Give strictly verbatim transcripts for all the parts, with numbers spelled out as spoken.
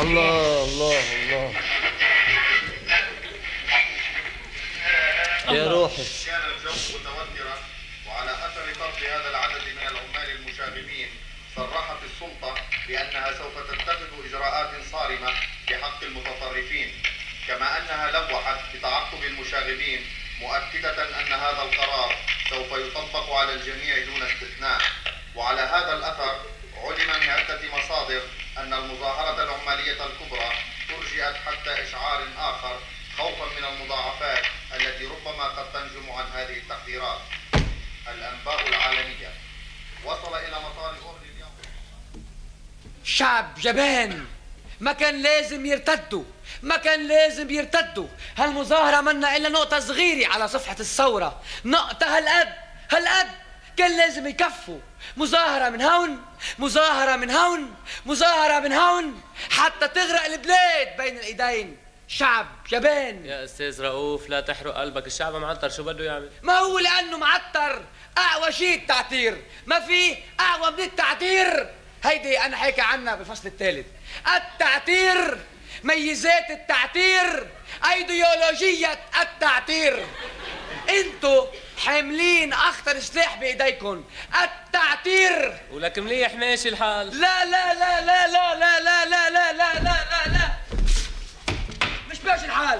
الله الله الله يا روحي. كان الجو متوترا، وعلى اثر طرد هذا العدد من العمال المشاغبين صرحت السلطه بانها سوف تتخذ اجراءات صارمه بحق المتطرفين، كما انها لوحت بتعقب المشاغبين مؤكده ان هذا القرار سوف يطبق على الجميع دون استثناء. وعلى هذا الاثر علم من عده مصادر ان المظاهره العماليه الكبرى ترجئت حتى اشعار اخر خوفا من المضاعفات التي ربما قد تنجم عن هذه التحذيرات. الأنباء العالمية وصل إلى مطار أورلي اليوم. شعب جبان، ما كان لازم يرتدوا، ما كان لازم يرتدوا. هالمظاهرة منا إلا نقطة صغيرة على صفحة الثورة، نقطة هالقد هالقد كان لازم يكفوا. مظاهرة من هون، مظاهرة من هون، مظاهرة من هون، حتى تغرق البلاد بين الإيدين. شعب جبان. يا استاذ رؤوف لا تحرق قلبك، الشعب معطر شو بده يعمل؟ ما هو لأنه معطر أقوى شيء التعتير، ما في أقوى من التعتير. هيدي أنا حكي عنها بالفصل الثالث. التعتير، ميزات التعتير، أيديولوجية التعتير. انتو حاملين أخطر سلاح بإيديكم، التعتير. ولك مليح ماشي الحال. لا لا لا لا لا لا لا لا لا لا لا لا مش ماشي الحال.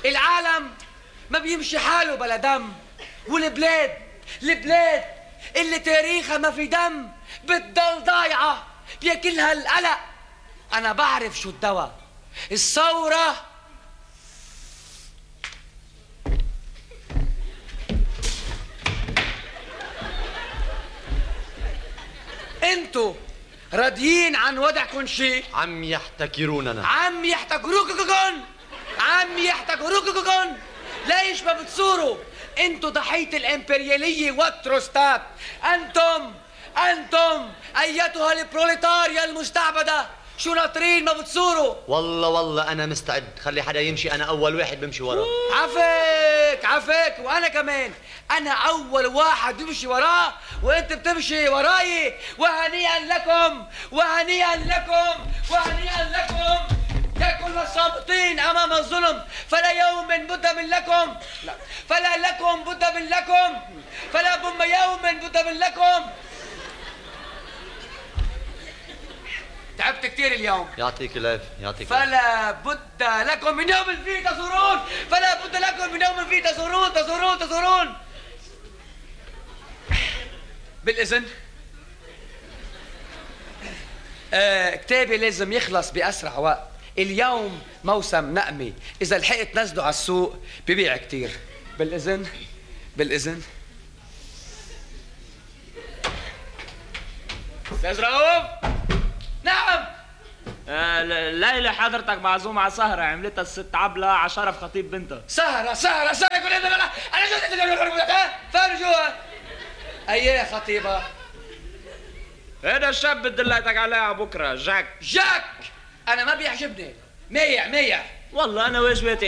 العالم ما بيمشي حاله بلا دم، والبلاد البلاد اللي تاريخها ما في دم بتضل ضايعة بياكلها القلق. أنا بعرف شو الدواء، الثورة. انتو راضيين عن وضعكم شيء؟ عم يحتكروننا، عم يحتكروككن، عم يحتكروككن. ليش ما بتصوروا؟ انتو ضحية الامبريالية والتروستات. انتم انتم ايتها البروليتاريا المستعبدة، شو ناطرين ما بتصوروا؟ والله والله انا مستعد، خلي حدا يمشي، انا اول واحد بمشي وراه. عفاك عفاك، وانا كمان انا اول واحد بمشي وراه، وانت بتمشي وراي. وهنيئا لكم وهنيئا لكم وهنيئا لكم يا كل الصامتين امام الظلم. فلا يوم بد من لكم، لا فلا لكم بد من لكم، فلا بم يوم بد من لكم. تعبت كثير اليوم. يعطيك العافية يعطيك العافية. فلا بد لكم من يوم فيه تزورون، فلا بد لكم من يوم فيه تزورون تزورون تزورون. بالإذن آه، كتابي لازم يخلص بأسرع وقت. اليوم موسم نقمة، إذا لحقت نزله على السوق ببيع كتير. بالإذن بالإذن أستاذ رؤوف. نعم. آه ليلى حضرتك معزومة على سهرة عملتها الست عبلة على شرف خطيب بنتها. سهرة سهرة سهرة كل هذا. أنا أنا شو ها فين جوا؟ أيه خطيبة؟ هذا الشاب بدي دليتك عليه على بكرة، جاك. جاك أنا ما بيعجبني، ميع ميع. والله أنا واجباتي